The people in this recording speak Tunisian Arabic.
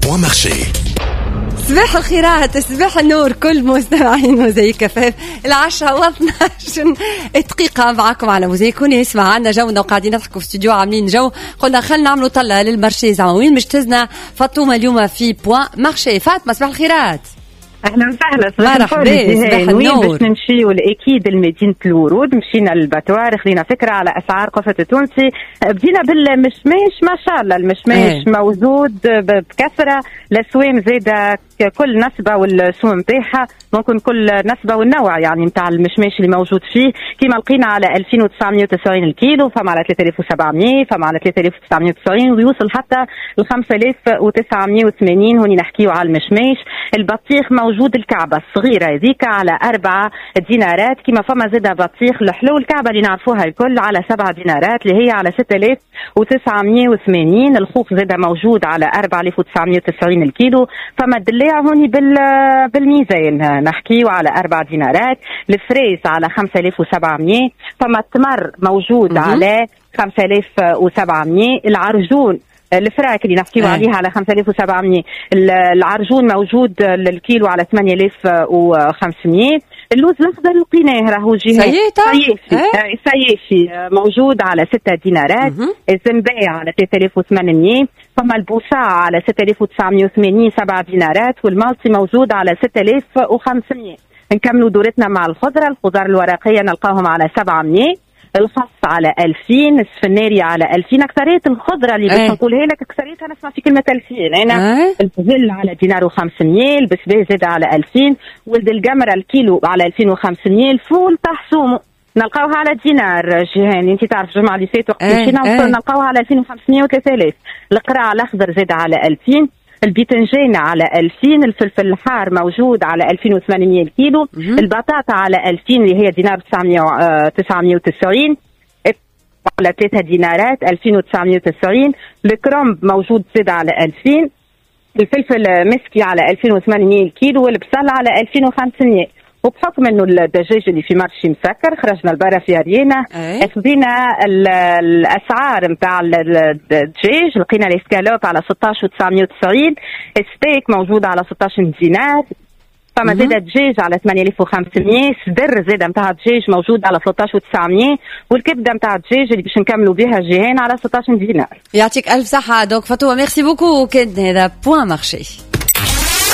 Point Marché. صباح الخيرات، صباح النور كل مستمعين موزايك FM. 10:12 معكم على موزايك. يسمع عنا جونا وقاعدين نضحكوا في استوديو عاملين جو، قلنا خلينا نعملوا طلة لل marché زعما وين مش تهزنا فاطمة اليوم في Point Marché. فاطمة صباح الخيرات. اهلا وسهلا، صباح مرحبا، صباح النور. باش نمشيو اكيد لمدينة الورود، مشينا لل abattoir خذينا فكرة على اسعار قفة التونسي. بدينا بالمشماش، ما شاء الله المشماش موجود بكثره، الاسوام زاده كل نسبه والسوم نتاعها، ممكن كل نسبه والنوع يعني نتاع المشماش اللي موجود فيه. كيما لقينا على 2990 الكيلو، فما على 3700، فما على 3990، ويوصل حتى ل 5980. هوني نحكيو على المشماش. البطيخ موجود الكعبة الصغيرة هذيك على 4 دينارات، كما فما زاد بطيخ الحلو الكعبة اللي نعرفوها الكل على 7 دينارات اللي هي على 6980. الخوخ زاد موجود على 4990 الكيلو. فما الدلاع هوني بالميزان نحكيو على 4 دينارات. ال fraise على 5700. فما التمر موجود على 5700. العرجون الفراك اللي نحكيو عليها على 5700. العرجون موجود الكيلو على 8500. اللوز الاخضر لقيناه راهو جهة سيافي موجود على 6 دينارات. الزنباع على 3800. فما البوصاع على 6980 7 دينارات. والمالتي موجود على 6500. نكملوا دورتنا مع الخضرة. الخضار الورقية نلقاهم على 700، الخس على 2000، السفناري على 2000. أكثرية الخضرة اللي باش نقولها لك أكثريتها نسمع في كلمة 2000. أنا البزل على دينار و500، البسباس زاد على 2000، ولد القمرة الكيلو على 2500. الفول تحسومه نلقاوها على دينار جيهان، انت تعرف الجمعة اللي فاتت وقت مشينا نلقاوها على 2500 و3000. القرع الأخضر زاد على 2000، البيتنجان على 2000، الفلفل الحار موجود على 2800 الكيلو، البطاطا على 2000 اللي هي دينار 990، على 3 دينارات 2990. الكرنب موجود زاد على 2000، الفلفل مسكي على 2800 الكيلو، والبصل على 2500. وبحكم انه الدجاج اللي في marché مسكر خرجنا لبرا في اريانا، خذينا الاسعار نتاع الدجاج، لقينا الاسكالوب على 16990، الستيك موجود على 16 دينار، فما زاد الدجاج على 8500، صدر زاد نتاع الدجاج موجود على 13900، والكبده نتاع الدجاج اللي باش نكملوا بها الجيهان على 16 دينار. يعطيك الف صحة donc فاطمة، merci beaucoup. كان هذا Point Marché.